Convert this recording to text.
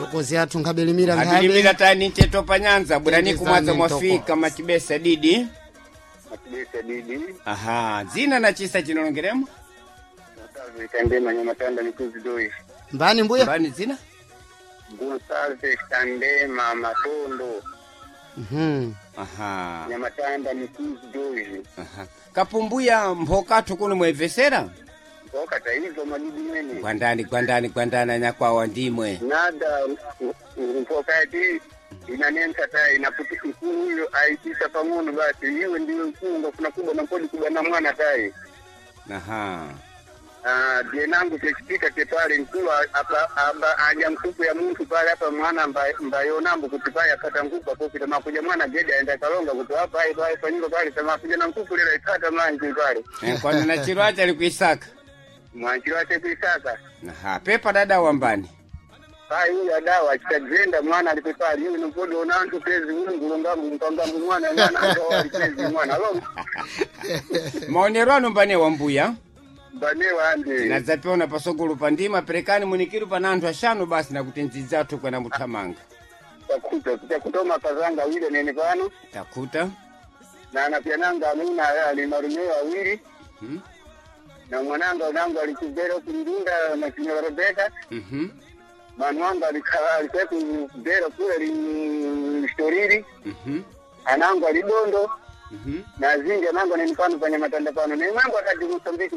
Thokozi athu nkhabelimira Abilimira nkhabe. tani ncheto panyanza bwerani Tendezani kumwadza ntoko. mwafika machibesa didi. Matibesa didi. Aha, dzina na chisa chinolongeremo? Gonsalves Kandema Nyamatanda Mikuzi Doi. Mbani mbuya? Mbani dzina? Gonsalves Kandema Matondo Mhm. Aha. Nyamatanda Mikuzi Doi. Aha. Kapumbuya mphokathu kuno mwebvesera? Mboka taizo madidi mwene. Gwandani gwandani gwandani anyakwawa ndimwe. Nada mpoka yati inanensa ta inaputi mkuu huyo aitisa pang'ono basi iwe ndiwe mkuu ngafuna kubwa na kodi kubwa na mwana tai. Aha. Ah, dienangu techitika tepale mkulu apa aba aja mkuku ya muntu pale apa mwana mbayonambo kuti pale apata nkuku apopita makuja mwana gede aenda kalonga kuti apa ai pale panyumba pale tamakuja na nkuku lera ipata manje pale. Eh, kwani na chiro acha ali kuisaka. Mwanjiro ache kuisaka. Aha, pepa dada wambani. Pai huyu adawa achitagenda mwana alipepali iwe nopodo onantu pezi ungu ngambu mpangambu mwana mwana antu alipezi mwana lo. Maonero ano mbane wambuya. Mbane wande. Nadzapiona pasogolo pa ndima perekani munikiru pana anthu axanu basi nakuti ndzidzathu kwena muthamanga. Takuta takutoma pazanga wile nene pano. Takuta. Na anapyananga amuna ali marumeo awili. Mhm. Na mwananga unangu alikubera kundunda na kinywa Rebeka. Mhm. Manu wangu alikuwa kubera kule listoriri. Anangu alidondo. Mhm. Na zingi anangu anenipano panya matanda pano. Na mwangu akati Mosambiki.